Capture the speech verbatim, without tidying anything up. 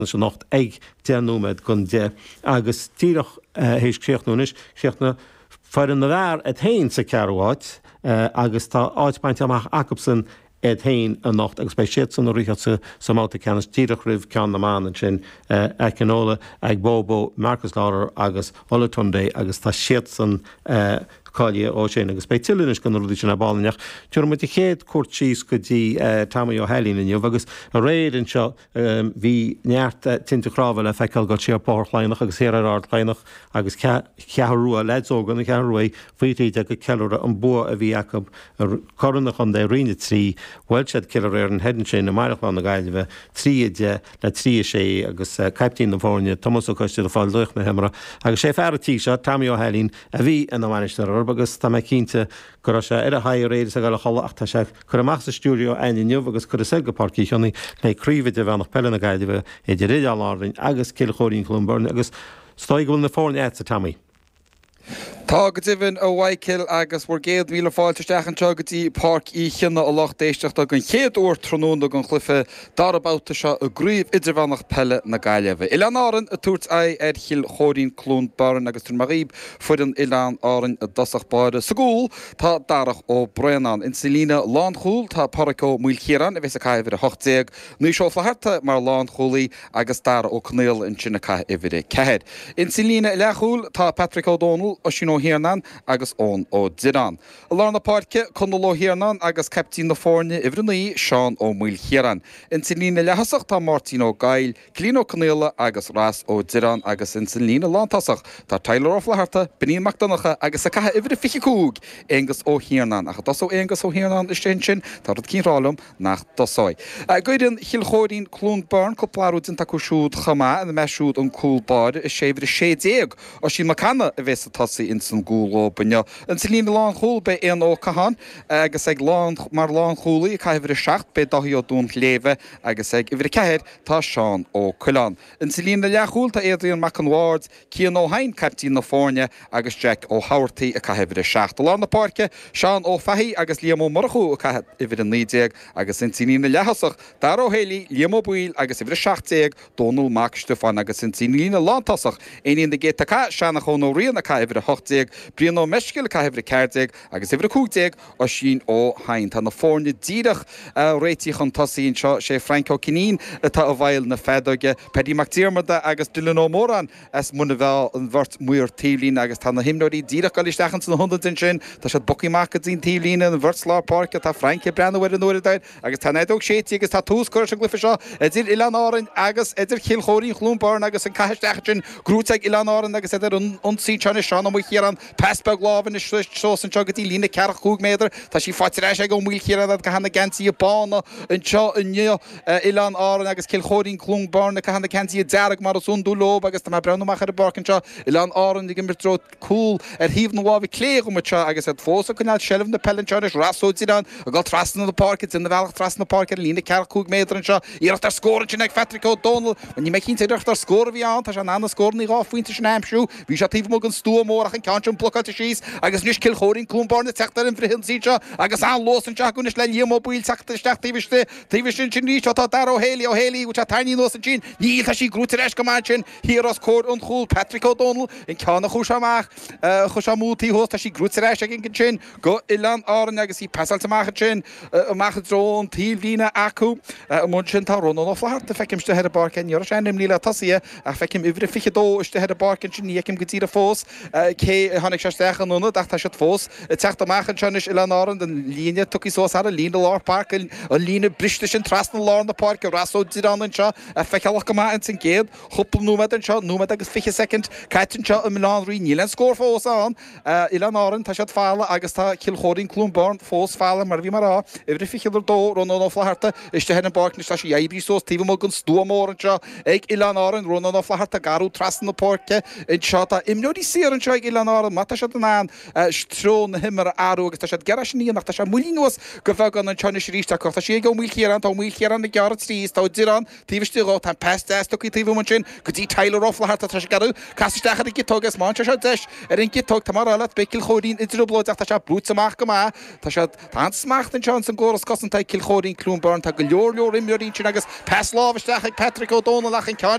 Anocht ag deich nóiméad don deich agus díreach théis críochnú anois, chríochnaigh foireann na bhfear iad féin sa ceathrú háit agus tá áit bainte amach acubsan iad féin anocht agus beidh siadsan ag rith sa mbabhta ceannais díreach roimh ceann na mban ansin, Akinola Agbobo, Marcus Lawler agus Olatunde agus tá siadsan cáilithe ó sin agus beidh tuilleadh anois de na rudaí sin ar ball inniu. Tabharfaidh muid an chéad cuairt síos go dtí Tommy Ó hAilín inniu agus aréir anseo bhí neart tinte chnámha le feiceáil ag dul siar Bóthar Chladhnach agus thiar ar Ard Chladhnach agus Ceathrú Rua, leaids óga na Ceathrú Rua faoi thrí déag ag ceiliúradh an bua a bhí acu ar Churaidh an Chontae Roinn a trí. Bhuail siad Cill Airne thoir ansin i mBaile Chláir na Gaillimhe, trí a deich le trí a sé agus caiptín na foirne, Tomás Ó Coistín ag fáil laoch na himeartha agus sé fear an tí seo, Tommy Ó hAilín, a bhí ina bhainisteoir orthu agus tá mé cinnte go raibh sé ar a aghaidh aréir is ag dul a chodladh ach tá sé curtha amach as an stiúideo againn inniu agus curtha soir go Páirc Uí Chionnaith le Craobh Idirmheánach Peile na Gaillimhe idir Oileáin Árann agus Cill Chóirín Cluain Bheirn agus is dóigh go bhfuil na foirne agatsa, Tommy. Tá go deimhin, a Mhichael, agus bhur gcéad míle fáilte isteach anseo go dtí Páirc Uí Chionnaith, a lucht éisteachta, don chéad uair tráthnóna don chluiche dara babhta seo i gCraobh Idirmheánach Peile na Gaillimhe. Oileáin Árann ag tabhairt aghaidh ar Chill Chóirín Cluain Bheirn agus tabharfaidh mé dhaoib foireann Oileáin Árann i dtosach báire. Sa gcúl tá Darach Ó Braonáin. Insa líne lánchúil tá Páraic Ó Maoilchiaráin a bheas ag caitheamh uimhir a hocht déag, Naoise Ó Flatharta mar lánchúlaí agus Dara Ó Conaola ansin ag caitheamh uimhir a ceathair. Insa líne leathchúil tá Patrick Ó Dónaill, Oisín Ó hIarnáin agus Eoin Ó Direáin. I lár na páirce, Conall Ó hIarnáin agus caiptín na foirne, uimhir a naoi, Seán Ó Maoilchiaráin. Insa líne leath-thosach tá Máirtín Ó Gaill, Cillian Ó Conaola agus Ross Ó Direáin agus insa líne lántosach tá Tyler Ó Flatharta, Beainín Mac Donncha agus ag caitheamh uimhir a fiche cúig, Aonghus Ó hIarnáin. Ach an dtosóidh Aonghus Ó hIarnáin istigh ansin, tá rud eicínt ag rá liom nach dtosóidh. D'fhoireann Chill Chóirín Cluain Bheirn, cúpla athrú déanta acu siúd chomh maith, ina measc siúd an cúl báire, is é uimhir a sé déag, Oisín Mac Cana a bheas ag tosaí ins an gcúl dóibh inniu. Insa líne lánchúil beidh Éanna Ó Catháin agus ag lán mar lánchúlaí ag caitheamh uimhir a seacht beidh Dáithí Ó Dúnshléibhe agus ag uimhir a ceathair tá Seán Ó Coileáin. Insa líne leathchúil tá Adrian Mac an Bhaird, Cian Ó hEidhin, caiptín na foirne, agus Jack Ó hEamhartaigh ag caitheamh uimhir a seacht. I lár na páirce, Seán Ó Fathaigh agus Liam Ó Murchú ag caitheamh uimhir a naoi déag agus insa líne leath-thosach, Dara Ó Héalaí, Liam Ó Baoill agus uimhir a seacht déag, Dónal Mac Stiofáin agus insa líne lántosach, Éinín na gCéadta Cath, Seanchán Ó Riain ag caitheamh uimhir a hocht déag, Brian Ó Meiscil ag caitheamh uimhir a ceathair déag agus uimhir a cúig déag, Oisín Ó hEidhin. Tá na foirne díreach réitithe chun tosaigh anseo. Sé Frank Ó Cinín atá i bhfeighil na feadóige, Paddy Mac Diarmada agus Dylan Ó Móráin as Muine Mheá an bheirt maor taobhlíne agus tá na himreoirí díreach ag dul isteach ins na hionaid ansin. Tá siad bogtha amach go dtí an taobhlíne, an bheirt lár páirce. Tá Frank ag breathnú ar an uaireadóir agus tá an fheadóg séidte agus tá tús curtha leis an gcluiche seo idir Oileáin Árainn agus idir Chill Chóirín Chluain Bheirn agus an cath isteach ansin gnóite ag Oileáin Árann agus iad ar an ionsaí anseo anois Seán Ó Maoilchiaráin pas beag láimhe anois suas anseo go dtí líne ceathracha cúig méadar tá sí faighte ar ais ag Ó Maoilchiaráin ag caitheamh na geansaithe bána anseo inniu Oileáin Árann agus Cill Chóirín Cluain Bheirn ag caitheamh na geansaithe dearg mar is iondúil leo agus tá mé ag breathnú amach ar an bpáirc anseo Oileáin Árann ag imirt i dtreo cúl ar thaobh na láimhe clé dhom anseo agus iad fós ag coinneáil seilbh na peile anseo anois Ross Ó Direáin ag dul trasna na páirce, déanamh a bhealach trasna na páirce ar an líne ceathracha cúig méadar anseo. Iarracht ar scór ansin ag Phatrick Ó Dónaill. Bhuel, níl mé cinnte ar iarracht ar scór a bhí ann. Tá sé in ann na scóranna dhá phointe sin a aimsiú. Bhí sé taobh amuigh den stua mór ach an ceann sin blocáilte síos agus anois Cill Chóirín Cluain Bheirn ag teacht ar an bhfrithionsaí anseo agus an-luas anseo acu anois le Liam Ó Baoill teacht isteach taobh istigh. Taobh istigh ansin arís ó tá Dara Ó Héalaí. Ó Héalaí, bhfuil sé tarraingthe anuas ansin? Níl, tá sí gnóite ar ais go maith ansin. Thiar os comhair an chúil, Patrick Ó Dónaill, an ceann a chuaigh sé amach, chuaigh sé amú taobh thuas, tá sí gnóite ar ais aige ansin go Oileáin Árann agus í pasáilte amach ansin, amach i dtreo an taobhlíne acu. Amuigh ansin tá Rónán Ó Flatharta, feicim istigh ar an bpáirc, ní raibh sé ainmnithe le tosaithe ach feicim uimhir a fiche dó istigh ar an bpáirc ansin, ní fheicim go díreach fós cé a tháinig sé isteach ina ionad ach tá siad fós ag teacht amach anseo anois, Oileáin Árann, an líne tugtha suas thar an líne lár páirce, an líne briste sin trasna lár na páirce, Ross Ó Direáin anseo, feiceálach go maith ins an gcéad chúpla nóiméad anseo, nóiméad agus fiche soicind caite anseo i mBaile Átha an Rí, níl aon scór fós ann. Oileáin Árann, tá siad folamh agus tá Cill Chóirín Cluain Bheirn fós folamh mar a bhí mé a rá, uimhir a fiche a dó, Rónán Ó Flatharta, istigh ar an bpáirc anois, tá sí oibrithe suas taobh amuigh den stua mór anseo ag Oileáin Árann, Rónán Ó Flatharta ag garrú trasna na páirce anseo, tá imreoirí saor anseo ag Oileáin orthu má tá siad in ann treo na himeartha a athrú agus tá siad ag iarraidh sin a dhéanamh ach tá sé moillithe anuas go beagán anseo anois arís acu. Tá sí ag Ó Maoilchiaráin, tá Ó Maoilchiaráin ag gearradh trí is tá Ó Direáin taobh istigh dhó, tá an pas deas tugtha taobh amuigh ansin go dtí Tyler Ó Flatharta, tá sé ag iarraidh casadh isteach ar an gciotóg is má fhaigheann sé seo deis ar an gciotóg, tá mé a rá leat, beidh Cill Chóirín i dtrioblóid ach tá sé brúite amach go maith. Tá siad, tá an-smacht anseo ins an gcóras cosanta ag Cill Chóirín Cluain Bheirn, tá go leor leor imreoirí ansin agus pas láimhe isteach ag Patrick Ó Dónaill ach an ceann